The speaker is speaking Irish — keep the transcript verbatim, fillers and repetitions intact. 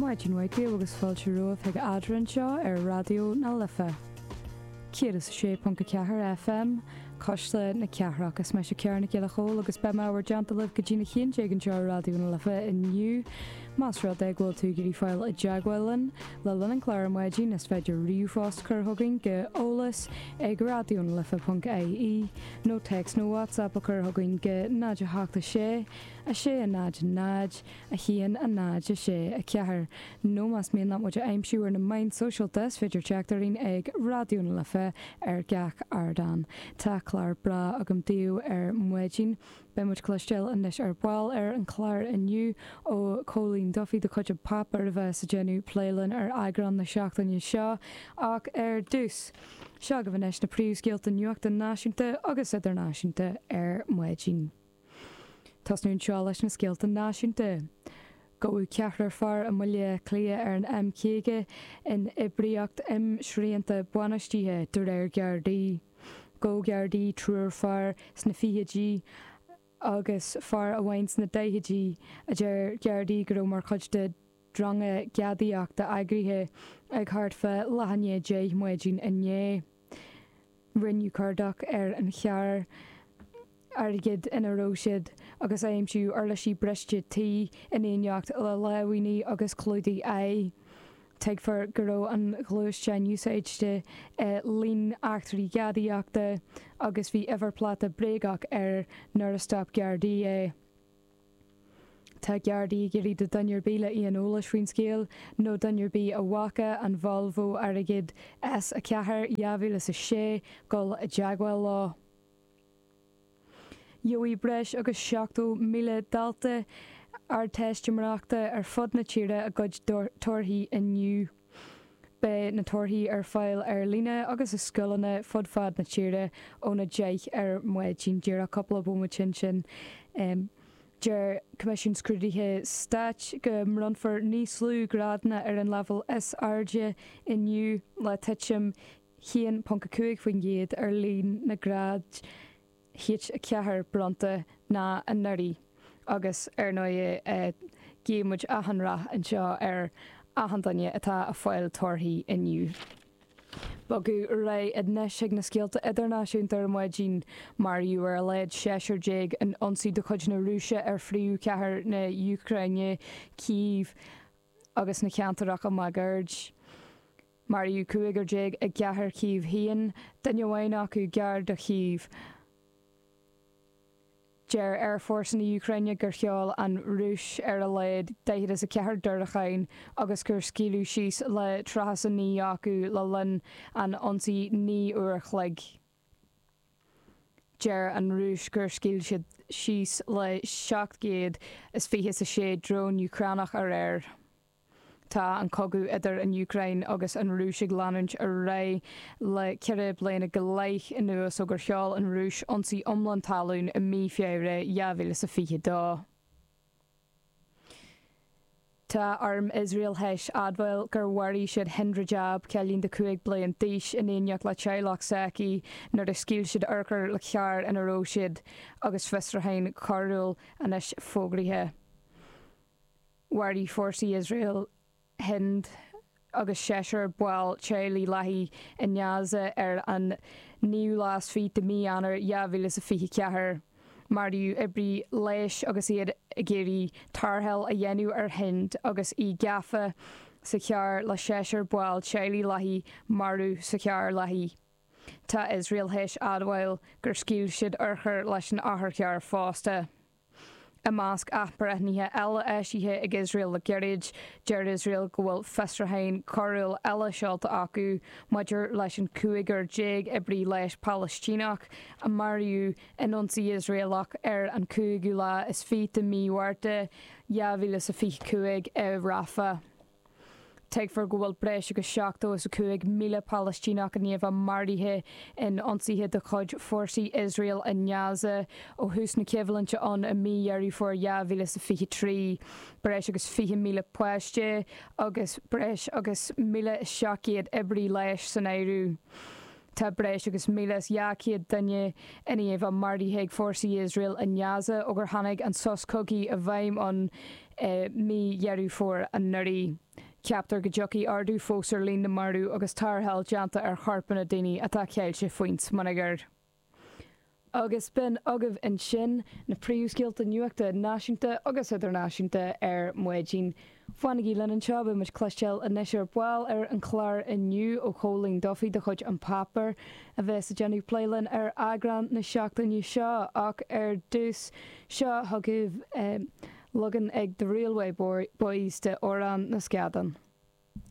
Maidin mhaith daoibh agus fáilte romhaibh chuig Eadrainn anseo ar Raidió na Life. Céad is a sé ponc a ceathair FM, Cuisle na Cathrach is mise Ciara Nic Giolla Chóill agus beidh mé i bhur dteannta libh go dtína haon déag anseo ar Raidió na Life inniu. Más rud é go bhfuil tú ag iarraidh fáil i dteagmháil linn le linn an chláir ar maidin is féidir ríomhphost a chur chugainn go eolas ag raidionalife.ie nó text nó WhatsApp a chur chugainn go náid a hocht a sé a sé a náid náid a haon a náid a sé a ceathair. Nó más mian leat muid a aimsiú ar na meáin sóisialta is féidir teacht orainn ag Raidió na Life ar gach ardán. Tá clár breá agam daoibh ar maidin. Beidh muid ag cloisteáil anois ar ball ar an chlár inniu ó Cóilín Duffy de chuid an Páipéar a bheas ag déanamh plé linn ar eagrán na seachtaine seo ach ar dtús. Seo agaibh anois na príomhscéalta nuachta náisiúnta agus idirnáisiúnta ar maidin. Tosnú anseo leis na scéalta náisiúnta. Gabhadh ceathrar fear i mBaile Átha Cliath ar an M caoga in oibríocht imshrianta bainistithe de réir Gardaí. Gabhadh Gardaí triúr fear sna fichidí agus fear amháin sna daichidí a deir Gardaí go raibh mar chuid de dhronga gadaíochta eagraithe ag thart fá leath i ndiaidh a deich maidin inné. Rinneadh cuardach ar an charr airgid ina raibh siad agus aimsíodh uirlisí briste tí in éineacht le lámhainní agus clúdaigh aghaidhe. Tuigfear go raibh an gluaisteán úsáidte i líon eachtraí gadaíochta agus bhí uimhirphláta bréagach air nuair a stop Gardaí é. Tá Gardaí ag iarraidh do dhuine ar bith le aon eolais faoin scéal nó duine ar bith a bhfaca an Volvo airgid S a ceathair dhá mhíle is a sé dul i dteagmháil leo. Gheobhaidh breis agus seachtó míle dalta Ardteistiméireachta ar fud na tíre a gcuid torthaí inniu. Beidh na torthaí ar fáil ar líne agus i scoileanna fud fad na tíre óna deich ar maidin díreach cúpla bomaite ansin. Deir Coimisiún Scrúduithe Stáit go mbronnfar níos lú grádanna ar an leibhéal is airde inniu le titim haon ponc a cúig faoin gcéad ar líon na ngrád H a ceathair bronnta ná anuraidh agus ar ndóigh guíonn muid achan rath anseo ar achan duine atá ag fáil torthaí inniu. Bogadh ar aghaidh anois chuig na scéalta idirnáisiúnta ar maidin. Maraíodh ar a laghad seisear déag in ionsaí de chuid na Rúise ar phríomhchathair na hÚcráine, Cív, agus na ceantracha máguaird. Maraíodh cúigear déag i gcathair Chív féin, duine amháin acu gar do Chív. Deir Aerfhórsa na hÚcráine gur sheol an Rúis ar a laghad daichead is a ceathair diúracán agus gur scaoileadh síos le tríocha is a naoi acu le linn an ionsaí naoi uair a chloig. Deir an Rúis gur scaoil siad síos le seacht gcéad is fiche is a sé drón Úcránach aréir. Tá an cogadh idir an Úcráin agus an Rúis ag leanúint ar aghaidh le ceithre bliana go leith anuas ó gur sheol an Rúis ionsaí iomlán talún i mí Feabhra dhá mhíle is a fiche dó. Tá arm Iosrael théis admháil gur mharaigh siad Hind Rajab, cailín de cúig bliain d'aois, in éineacht le teaghlach s'aici nuair a scaoil siad urchar le carr ina raibh siad agus fiosrúchán coiriúil anois fógraithe. Mharaigh fórsaí Iosrael Hind agus seisear ball teaghlaigh léi i nGaza ar an naoú lá is fiche de mhí Eanáir dhá mhíle is a fiche ceathair. Maraíodh oibrí leighis agus iad ag iarraidh tarrtháil a dhéanamh ar Hind agus í gafa sa charr le seisear ball teaghlaigh léi marbh sa charr léi. Tá Iosrael théis admháil gur scaoil siad urchar leis an otharcharr fosta. I measc athbhreithnithe eile eisithe ag Iosrael le gairid, deir Iosrael go bhfuil fiosrúchán coiriúil eile seolta acu maidir leis an cúigear déag oibrí leighis Palaistíneach a maraíodh in ionsaí Iosraelach ar an cúigiú lá is fiche de mhí Mhárta dhá mhíle is a fiche cúig i Rafah. Tuigfear go bhfuil breis agus seachtó is a cúig míle Palaistíneach i ndiaidh bheith maraithe in ionsaithe de chuid fórsaí Iosrael i nGaza ó thús na coimhlinte ann i mí Dheireadh Fómhair dhá mhíle is a fiche trí. Breis agus fiche míle páiste agus breis agus míle is seacht gcéad oibrí leighis san áireamh. Tá breis agus míle is dhá chéad duine i ndiaidh bheith maraithe ag fórsaí Iosrael i nGaza ó gur tháinig an sos cogaidh i bhfeidhm ann i mí Dheireadh Fómhair anuraidh. Ceaptar go dtiocfaidh ardú fós ar líon na marbh agus tarrtháil déanta ar chorpanna daoine atá ceilte faoin smionagar. Agus b'in agaibh ansin na príomhscéalta nuachta náisiúnta agus idirnáisiúnta ar maidin. Fanaigí linn anseo beidh muid ag cloisteáil anois ar ball ar an chlár inniu ó Chóilín Duffy de chuid An Páipéar a bheas ag déanamh plé linn ar eagrán na seachtaine seo ach ar dtús seo chugaibh eh, leagan ag The Railway Boys de Amhrán na Scadán.